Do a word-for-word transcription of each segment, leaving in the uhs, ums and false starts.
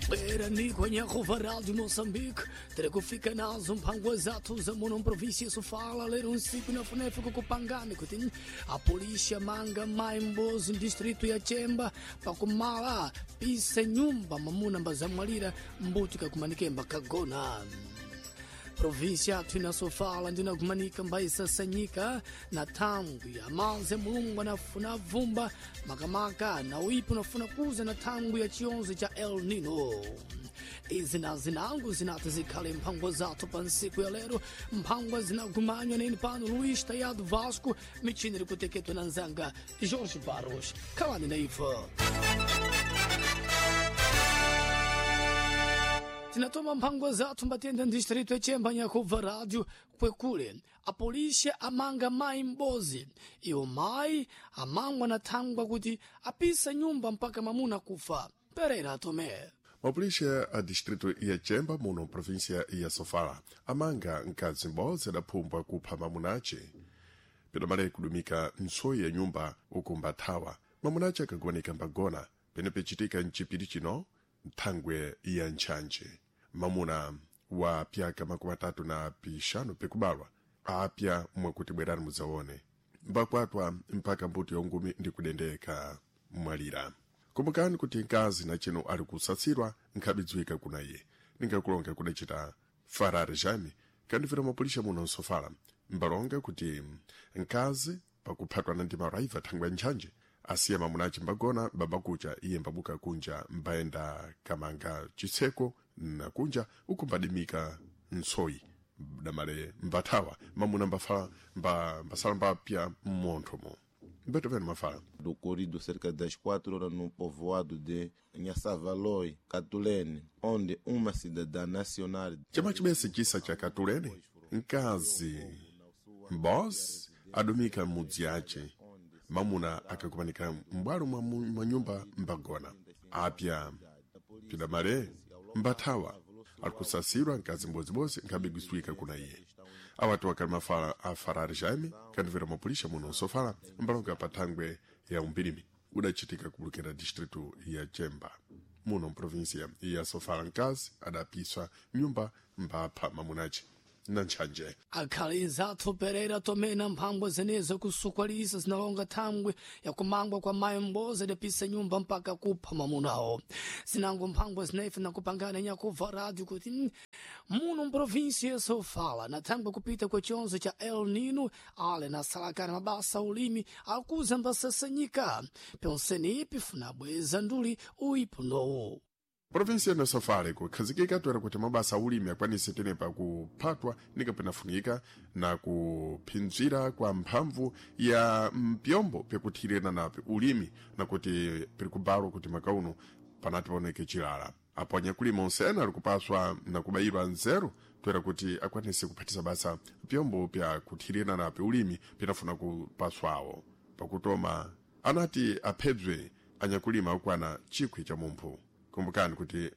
Bwera ni kwenye kuva Rádio Moçambique, terá kufika nazo mphangwa zathu za muno província Sofala, lero nsiku na funefe kukupangani kuti a polícia manga mai mbozi distrito ya Chemba pakumala pisa nyumba mamuna mbazamwalira mbuti kakumanikemba kagona. Província yathu inasofala ndinakumanika mbaisasanyika na thangwi ya manze mulungu anafuna vumba makamaka na uipo nafuna kuza na thangwi ya chionzo cha El Nino. Izi na zinangu zinati zikhale mphangwa zathu pa nsiku ya lero, mphangwa zinagumanywa neni pano Luís Tayado Vasco, michini likuteketwa na nzanga Jorge Barros. Khalani na ife. Tinatoma mphangwa zathu mbatenda distrito ya Chemba nyakubva rádio kwekule. A polícia amanga mai m'bozi. Iwo mai amangwa na thangwa kuti apisa nyumba mpaka mamuna kufa. Pereira Tomé. Mapulisha a distrito ya Chemba muno província ya Sofala amanga mkazi m'bodzi adaphumbwa kupha mamunace pedamale kudumika ntsoyi ya nyumba uku mbathawa mamunace akagonika mbagona pene pecitika mcipiri chino nthangwe ya ntchantche mamuna wa pyaka makumi atatu na pixanu pikubalwa apya mwakuti bwerani mudzaone mbakwatwa mpaka mbuto yongumi ndi kudendeka mwalira. Kumbukani kuti mkazi na chino ali kusatsirwa nkhabidziwika kuna iye ningakulonga kudacita farari jame kandifira mapulisha muno nsofala mbalonga kuti mkazi pakuphatwana ndi maraiva thangwe ntchanje asiya mamunace mbagona babakucha iye mbabuka kunja mbayenda kamanga chitseko na kunja uku mbadimika ntsoyi damale mbathawa mamuna mbafa mba, mbasala mbapya mmonthomo mbeto penu mafala. Ocorrido cerca das quatro horas no povoado de Nhaçavaloi, Catulene, onde uma cidadã nacional chama chibese chisa cha Katulene, mkazi mbos adumika mudzi ace mamuna akakumanika m'bwalo mwa mu- mwa nyumba mbagona apya pidamale mbathawa alikusasirwa mkazi mbodzibodzi nkhabigwiswika kuna iye. Awati wakali mafala a farari jaime kandivera mapulisha muno nsofala mbalonga pa thangwe ya umpirimi udachitika kubulukira distrito ya Chemba muno mprovinsia ya Sofala. Mkazi adapiswa nyumba mbapha mamunace na ntchanje. Akhali zathu Pereira Tomé na mphangwa zenezo kusukwalisa zinalonga thangwi yakumangwa kwa mayi m'bozi adapisa nyumba mpaka kupha mamunawo. Zinango mphangwa zinefe nakupangana nyakubva rádio kuti mm, muno mprovíncia ya Sofala na thangwi kupita kwa chionzo cha El Nino ale nasalakana mabasa ulimi akuza mbasasanyika pyonseni ipi funabweza nduli uipo ndowo. Província ya Sofala ikukhazikika toera kuti mabasa aulimi akwanise tenepa kuphatwa nikapenafunika na kuphinzira kwa mphamvu ya mpyombo pyakuthirira napi ulimi na kuti piri kubalwa kuti makauno panati paoneke chilala. Apo anyakulima onsene ali kupaswa na kubayirwa nzeru toera kuti akwanise kuphatisa basa pyombo pya kuthirira napi ulimi pinafuna kupaswawo. Pakutoma anati aphebzwe anyakulima akwana chikwi cha mumphu. Kumbukani kuti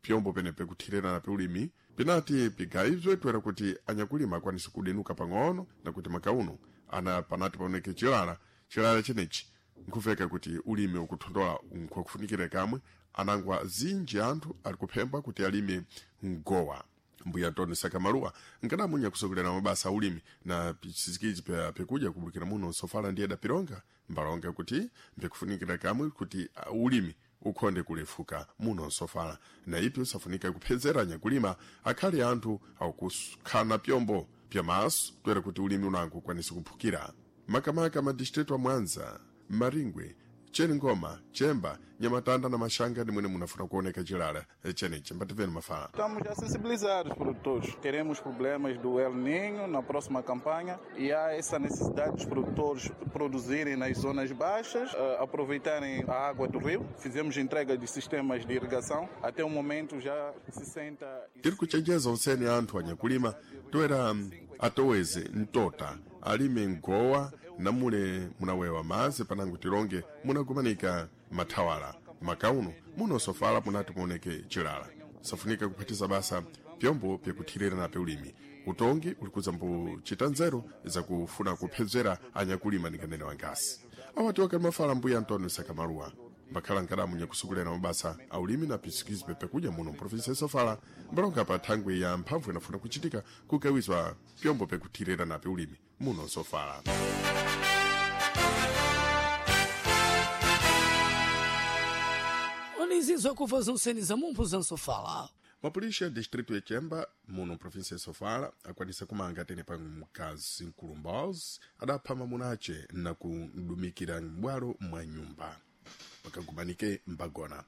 pyombo penepe kuthirira pe ulimi pinati pigayizwe toera kuti anyakulima akwanise kudenuka pang'ono na kuti makauno ana panati paoneke chilala. Chilala chenechi nkufeka kuti ulimi ukuthondola nkwakufunikira kamwe anangwa zinji anthu ali kuphemba kuti alime mgowa. Mbuya Antônio Sakamaluwa nkadamunya kusokolera mabasa aulimi na pisikizi pya pyakudya kubulukira muno Sofala ndiye dapironga mbalonga kuti mpyakufunikira kamwe kuti ah, ulimi ukhonde kulefuka muno Nsofala na ipi usafunika kuphezera anyakulima akhale anthu akukhana pyombo pyamaso toera kuti ulimi unango ukwanise kuphukira makamaka madistritu a Mwanza, Maringwe, Cheningoma, Chemba, Nyamatanda na Mashanga ndi mwene munafuna kuoneka chilala chenechi. Mbativeni mafala. Estamos a sensibilizar os produtores. Teremos problemas do El Niño na próxima campanha e há essa necessidade dos produtores produzirem nas zonas baixas, eh, aproveitarem a água do rio. Fizemos entrega de sistemas de irrigação. Até o momento já sessenta Tiri kuchenjeza onsene anthu anyakulima toera atoweze mtota alime mgowa namule munawewa mazi panango tilonge munagumanika mathawala makauno muno Sofala munati muoneke chilala safunika kuphatiza basa pyombo pyakuthirira nape ulimi. Utongi ulikuza mbuchita nzeru zakufuna kuphedzera anyakulima ninganene wangasi. Awati wakali mafala mbuya Antônio Sakamaluwa mbakhala nkadamu nyakusukulira mabasa aulimi na pisikizi pepekuja muno mprovinsi ya Sofala mbalonga pa thangwi ya mphamvu inafuna kuchitika kukawizwa pyombo pekuthirira nape ulimi muno Sofala. Onizizo kuva zonseni za mumphu za Sofala. Mapolisi ya distrito ya Chemba muno provinsi ya Sofala akwanisa kumanga tene pa mkazi mkulumbaozi adapha mamunace na kudumikira m'bwalo mwa nyumba wakagumanike mbagona.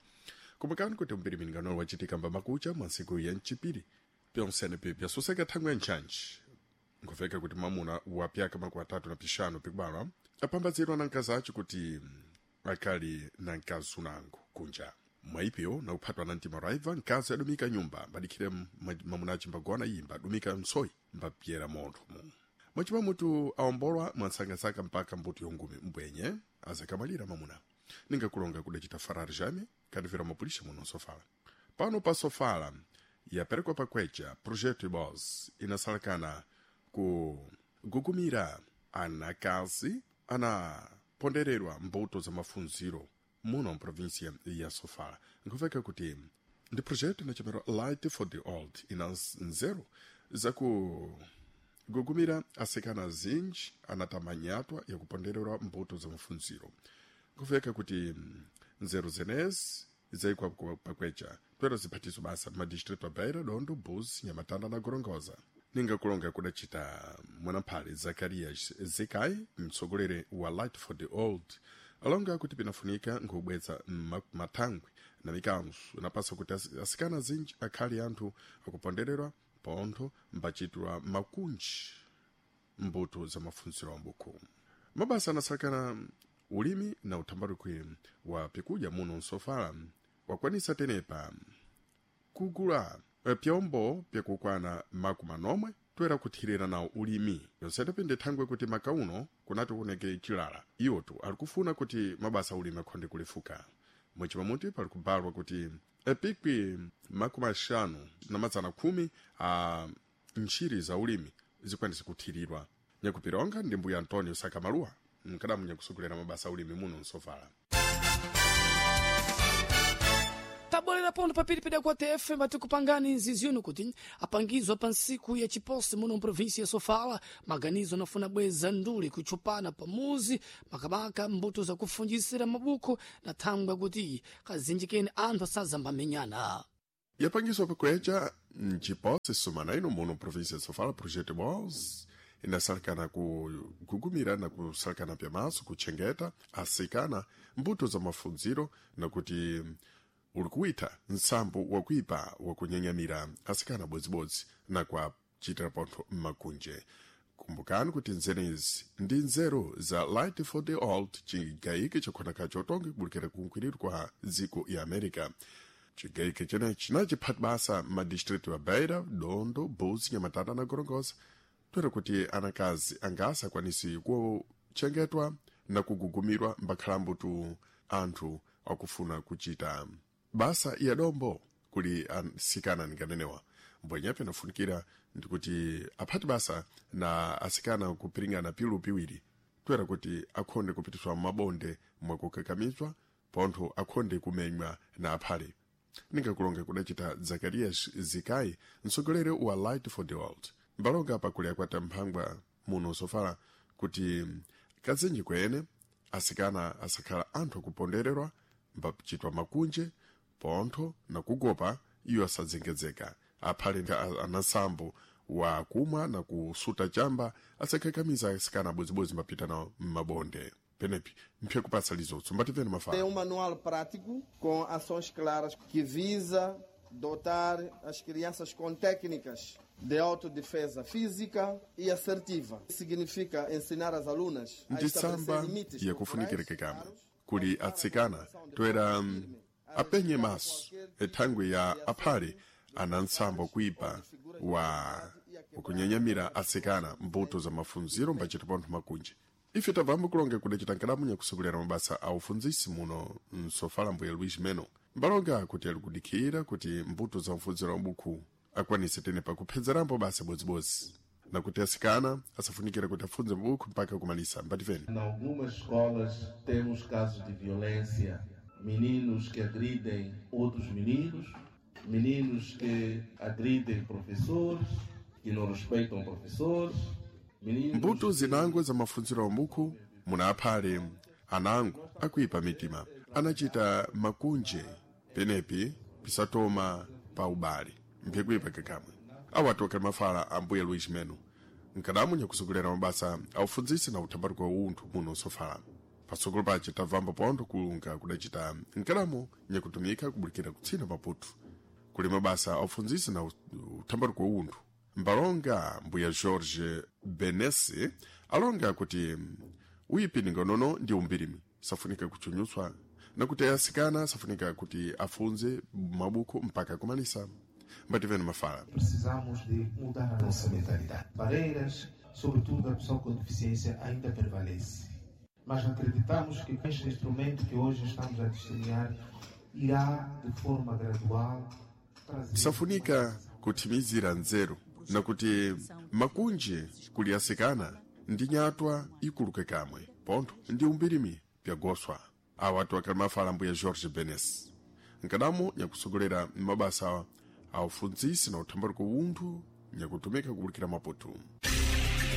Kumbukani kuti mpiriminingano wachitika mbamakucha mwa ntsiku ya mchipiri pyonsene pyasoseka thangwi ya ntchantchi nkuveka kuti mamuna wa pyaka makumi atatu na pixanu pikubalwa apambazirwa na mkazi ace kuti akali na mkazi unango kunja mwaipyo nakuphatwa na mtima raiva mkazi adumika nyumba mbadikhire mamuna ace mbagona iyi mbadumika msoyi mbapyera montho mu mwachima mutu aombolwa mwansangasaka mpaka mbuto yongumi mbwenye azakamalira mamuna ningakulonga kudacita farari jame kadivira mapulisha muno Sofala. Pano pa Sofala yaperekwa pakwecha projeto ibos inasalakana kugugumira anakazi anapondererwa mbuto za mafunziro muno mprovinsia ya Sofala. Nkuveka kuti ndi projeto inachemerwa Light for the Old ina nzeru zakugugumira asikana zinji anatamanyatwa yakupondererwa mbuto za mafunziro. Nkuveka kuti nzeru zenezi zaikwa pakwecha twero ziphatiso basa madistritu a Beira, Dondo, Buzi, Nhamatanda na Gorongosa. Ningakulonga kudacita mwanamphale Zakarias Zekai mtsogoleri wa Light for the Old alonga kuti pinafunika nkubweza mathangwi na mikanzo inapasa kuti asikana azinji akhale anthu akupondererwa pontho mbachitwa makunji mbuto za mafunziro ambuku. Mabasa anasakana ulimi na uthambalikwi wa pikudya muno Nsofala wakwanisa tenepa kugula pyombo pyakukwana makumi anomwe toera kuthirira nawo ulimi yonsetepi pinde thangwe kuti makauno kunati kuoneke chilala iwotu ali kufuna kuti mabasa ulimi akhonde kulefuka mwachimamuti pali kubalwa kuti epikwi makumi axanu na mazana khumi a ntchiri za ulimi zikwanise kuthirirwa. Nyakupironga ndi mbuya Antonio Sakamaluwa mkadamu nyakusogolera mabasa ulimi muno Nsofala. Tabolera pondo papiri peda kwa T F matikupangani nziziuno kuti apangizwa pa ntsiku ya chiposi muno mprovinsi ya Sofala maganizo anafuna bweza nduli kuchupana pamuzi makamaka mbuto zakufunjisira mabuku na thangwa kuti kazinjikeni anthu asazambamenyana. Yapangiswa pakwecha mchiposi sumana ino muno provinsi ya Sofala projeto Bos inasalikana kugugumira na kusalikana pyamaso kuchengeta asikana mbuto za mafunziro na kuti uli kuwitha nsambo wakuipa wakunyanyamira asikana bodzibodzi na kuachitira pontho mmakunje. Kumbukani kuti nzenezi ndi nzeru za Light for the Old chigayike chakhonaka chotonga kubulikira kunkhwiriro kwa dziko ya America. Chigayike chenechi chinachiphati basa madistritu ya Beira, Dondo, Buzi, Nhamatanda na Gorongosa toera kuti anakazi angasa akwanisi kuchengetwa na kugugumirwa mbakhalambo tu anthu akufuna kuchita basa ya dombo kuli asikana ninganenewa. Mbwenyepe nafunikira ndikuti aphati basa na asikana kupiringana pilu piwiri toera kuti akhonde kupitiswa mabonde mwakukakamizwa pontho akhonde kumenywa na aphale. Ningakulonga kudacita Zakarias Zikai mtsogoleri wa Light for the World mbalonga pakuli akwata mphangwa muno Sofala kuti kazinji kwene asikana asakhala anthu akupondererwa mbachitwa makunje pontho na kugopa iyo asadzengedzeka aphale anasambo wa kumwa na kusuta chamba asakakamiza asikana bodzibodzi mbapita nawo mmabonde. Penepi mphe kupasa lizotso mbativeni mafala. Tem um manual prático com ações claras que visa dotar as crianças com técnicas de autodefesa física e assertiva. Significa ensinar as alunas a Ndi estabelecer tsamba limites yakufunikira corporais kekama claros, kuli atsikana toera mm, apenye maso ethangwi ya aphale ana ntsambo kuipa wa ukunyanyamira atsikana mbuto za mafunziro mbachita pontho makunje. Ife tabvambo kulonga kudacita nkadamunya kusogolera mabasa a ufunzisi muno Msofala mbuya Luis Meno mbalonga kuti ali kudikhira kuti mbuto za mfunziro wa bukhu akwanise tene pakuphezerambo basa bodzibodzi na kuti asikana asafunikira kuti afunze mabukhu mpaka kumalisa. Mbativeni. Em algumas escolas temos casos de violência Meninos que agridem outros meninos, meninos que agridem professores, que não respeitam professores, meninos Mbuto zinango za mafunziro ambuku munaphale anango akuipa mitima anachita makunje penepi pisatoma pa ubale mphikuipa kakamwe awatu akhali mafala ambuye Luis Meno nkadamu nyakusogolera mabasa aufundzisi na uthambaluko wa unthu muno sofala. Patsogolo pace tabvamba pontho kulunga kudacita nkadamo nyakutumika kubulikira kutsina Maputo kuli mabasa aufundzisi na uthambaluko wa unthu. Mbalonga mbuya George Benesi alonga kuti uyipi ningonono ndi umbirimi safunika kuchunyutswa na kuti asikana safunika kuti afunze mabuku mpaka kumalisa. Mbativeni mafala. Precisamos de mudar a nossa mentalidade. Barreiras, sobretudo da pessoa com deficiência, ainda prevalece. Mas acreditamos que este instrumento que hoje estamos a desenhar irá, de forma gradual, trazer. Safunika kuthimizira nzeru na kuti makunje kuli asikana ndi nyatwa ikuluke kamwe pontho ndi umbirimi pyagoswa. Awatu akhali mafala mbuya George Benes nkadamo nyakusogolera mabasa aufundzisi na uthambaluko unthu nyakutumika kubulikira Maputo.